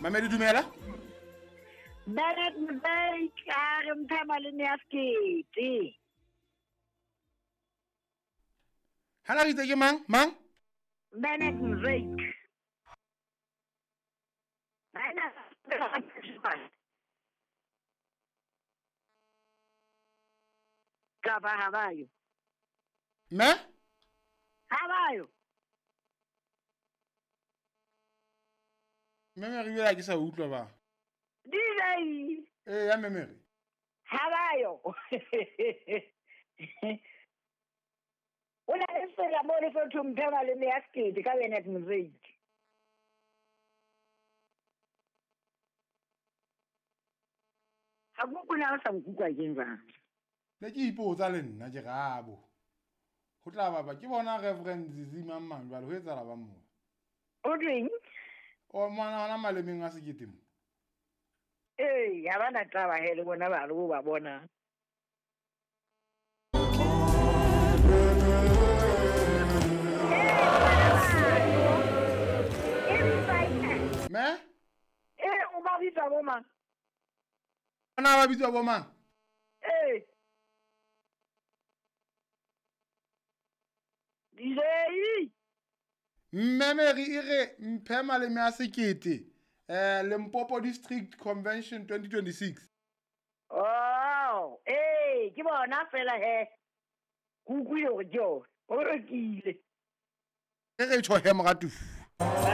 Mamedi dumela. Bernard Mzee a re mphe maleme a sekete. Ha la ritse ke mang? Mang? Bernard Mzee. Kapa ha ba yo. Mme? Ha ba yo. Mme Mary bjale ke sa utlwa ba. DJ. Ee ya Mme Mary. Ha ba yo. O na le sela mo le fotho mphe maleme ya sekete ka Bernard Mzee. Ga ko na sa nkutlwa keng jang? Ne ke ipotsa le nna ke rabo. Ho tla baba ke bona Reverend Zizi mang mang jwale ho etsahala bang mo. O tweng? O mwana hona malemeng a sekete mo. Ee, ha ba na taba he le bona ba re bo ba bona. Me? Ee, o ba bitsa bo mang? Ana ba bitswa bo mang? Ee. DJ. Mme Mary e re mphe maleme a sekete. Limpopo District Convention 2026. Oh, ee, ke bona fela he. Ke utlwile hore ke yona. O rekile. Re re tjho he moratuwa.